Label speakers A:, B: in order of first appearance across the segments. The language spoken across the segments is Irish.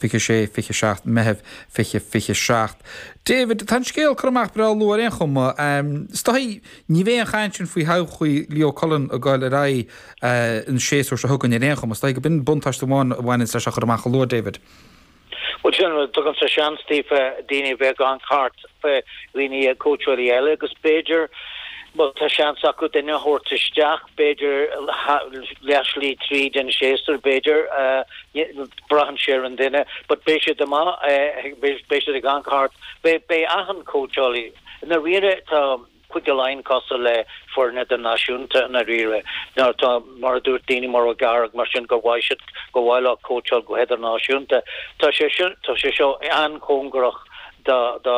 A: 26, 27 Meitheamh 2027. David, tá an scéal curtha amach breá luath ar aon chuma. Is dóigh, ní bheidh an chaint sin faoi thodhchaí Leo Cullen ag dul ar aghaidh an séasúr seo chugainn ar aon chuma. Is dóigh go b'in buntáiste amháin a bhaineanns leis a chur amach chomh luath, David.
B: Bhuel, sin rud, tugann sé seans daofa daoine a bheith ag amharc thart fé dhaoine, cóitseálaí eile agus b'fhéidir má tá seans acu duine a thabhairt isteach, b'fhéidir leathshlí tríd an séasúr, b'fhéidir, braitheann sé ar an duine, but beidh siad amach, beidh siad ag amharc thart, beidh, beidh achan cóitseálaí, i ndáiríre tá Cúige Laighean cosúil le foireann idirnáisiúnta i ndáiríre, nuair atá, mar a dúirt daoine mar O'Gara mar sin gur mhaith siad, gur mhaith leo cóitseáil go hidirnáisiúnta. Tá sé seo, tá sé seo an-chóngarach do, do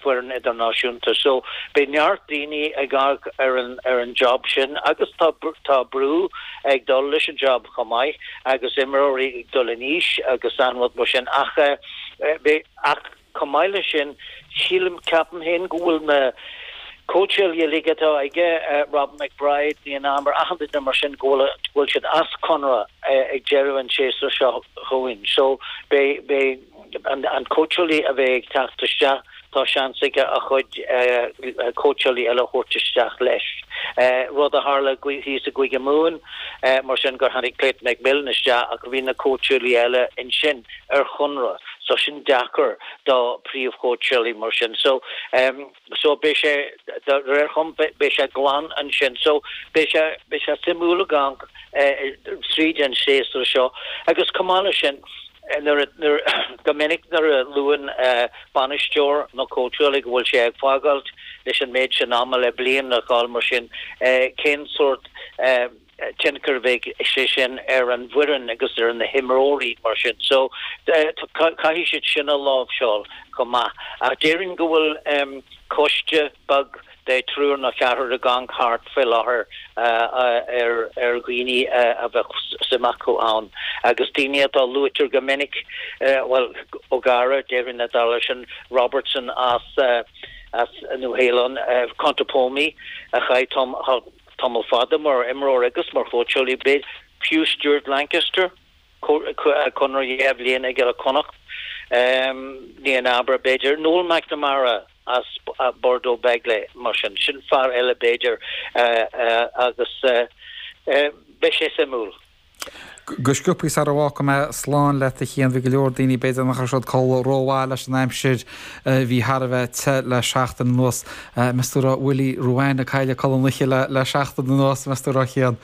B: foireann idirnáisiúnta. So beidh neart daoine ag amharc ar an, ar an job sin agus tá, tá brú ag dul leis an job chomh maith agus imreoirí ag dul in aois agus achan rud mar sin ach beidh, ach Chomh maith leis sin, sílim, ceapaim féin go bhfuil na cóitseálaithe uilig atá aige, Robin McBryde, Nienaber, achan duine mar sin, go bhfuil, go bhfuil siad as conradh ag deireadh an tséasúir seo chugainn. So beidh, beidh an, an cóitseálaí a bheidh ag teacht isteach, tá seans aige a chuid cóitseálaí eile a thabhairt isteach leis. Rud a tharla thíos i gCúige Mumhan, mar sin, gur tháinig Clayton McMillan isteach ach bhí na cóitseálaí eile ansin ar chonradh. So sin deacair do príomhchóitseálaí mar sin. So so beidh sé de réir chum beidh sé glan ansin. So beidh sé beidh sé suimiúil ag amharc tríd an séasúr seo agus chomh maith leis sin nuair nuair go minic nuair a luann bainisteoir nó cóitseálaí go bhfuil sé ag fágáilt leis an méid sin ama le bliain a dhul mar sin cén sórt tionchar a bheidh sé sin ar an bhfoireann agus ar na himreoirí mar sin. So caithfidh siad sin a láimhseáil chomh maith. Ach déarfainn go bhfuil coiste beag de triúr nó ceathrar ag amharc thart faoi láthair ar ar dhaoine a bheadh suim acu ann. Agus daoine atá luaitear go minic, bhuel O'Gara déarfainn ag dul leis sin, Robertson as as Nua Shéalainn, Contepomi a chaith Tamall fada mar imreoir agus mar chóitseálaí, b'fhéidir, fiú Stuart Lancaster, conradh 2 bhliain aige le Connacht, Nienaber, b'fhéidir, Noel McNamara as Bordeaux Bègles, mar sin, sin fear eile b'fhéidir agus beidh sé suimiúil.
A: Go sciobthaí sara bhfágfaidh mé slán leat a Chian, bhí go leor daoine b'fhéidir nach raibh siad ag codladh rómhaith leis an aimsir a bhí thar a bheith te le seachtain anuas. Meas tú raibh Willie Ruane ag cailleadh codladh na hoíche le seachtain anuas, meas tú raibh a Chian?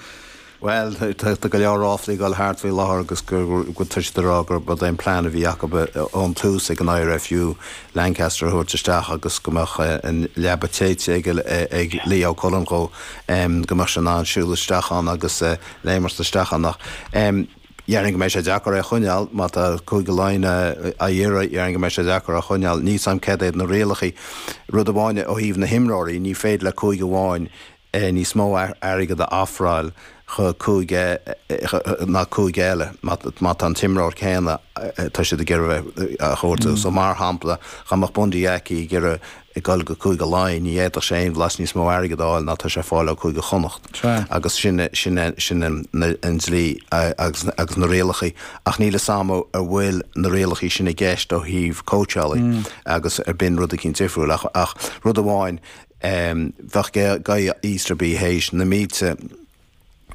C: Bhuel, tá go leor ráflaí ag dul thart faoi láthair agus go tá siad ag rá gurb é an plean a bhí acu ón tús ag an IRFU Lancaster a thabhairt isteach agus go mbeadh an leaba téite ag Leo Cullen dhó, go mbeadh sé in ann siúl isteach ann agus léimeacht isteach ann ach déarfainn go mbeidh sé deacair é a choinneáil má tá Cúige Laighean á iarraidh, déarfainn go mbeidh sé deacair é a choinneáil. Níl 's a'm céard iad na rialacha. Rud amháin ó thaobh na himreoirí, ní féidir le cúige amháin níos mó airgead a ofráil cho cúige ná cúige eile má tá an t-imreoir céanna tá siad ag iarraidh a thabhairt. So mar shampla, dá mbeadh Bundee Aki ag iarraidh ag dul go Cúige Laighean, ní fhéadfadh sé aon bhlas níos mó airgid a fháil ná tá sé ag fáil ó Cúige Chonnacht. Agus sin sin sin an dlí agus agus na rialacha. Ach níl 'fhios a'm an bhfuil na rialacha sin i gceist ó thaobh cóitseálaí agus ar b'in rud eicínt difriúil. Ach ach rud amháin, bheadh Guy Easterby théis na mílte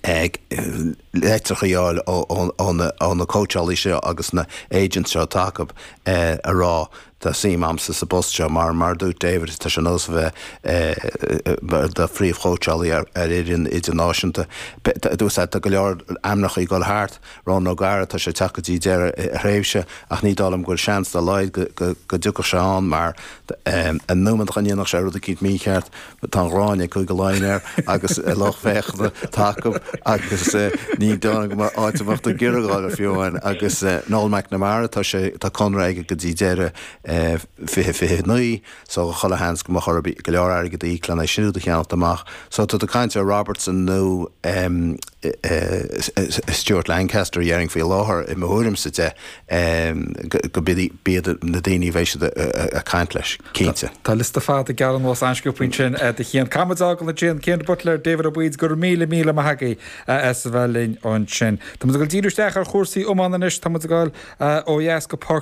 C: litreacha a fháil ó na cóitseálaí seo agus na agents seo atá acu a rá tá suim a'msa sa bpost seo mar mar a dúirt David tá sé ar nós a bheith do phríomhchóitseálaí ar fhoireann idirnáisiúnta. Tá go leor ainmneacha ag dul thart, Ronan O'Gara tá sé ag teacht go dtí deireadh a thréimhse ach ní dóigh liom go bhfuil seans dá laghad go dtiocfadh sé ann mar an nóiméad go ndéanfadh sé rud eicínt mícheart Tá an ghráin ag Cúige Laighean air agus a lucht féachana atá acu agus ní dóigh liom go mbeadh áit a mbeadh tú ag iarraidh a dhul fiú amháin. Agus Noel McNamara, tá sé, tá conradh aige go dtí deireadh. 2029 so chuile sheans go mbeadh orthu go leor airgead a íoc lena siúd a cheannacht amach. So tá tú ag caint ar Robertson nó Stuart Lancaster a déarfainn faoi láthair i mo thuairimse de go b'iad na daoine a bheidh siad ag caint leis, cinnte.
A: Tá liosta fada gearr anuas an-sciobtha ansin do Chian. Caithfidh muid fágáil ansin, Cian de Buitléir, David Ó Baoid, go raibh míle míle maith agaibh as a bheith linn ansin. Tá muid ag dul díriú isteach ar chúrsaí iomána anois, tá muid ag dul ó dheas go Port.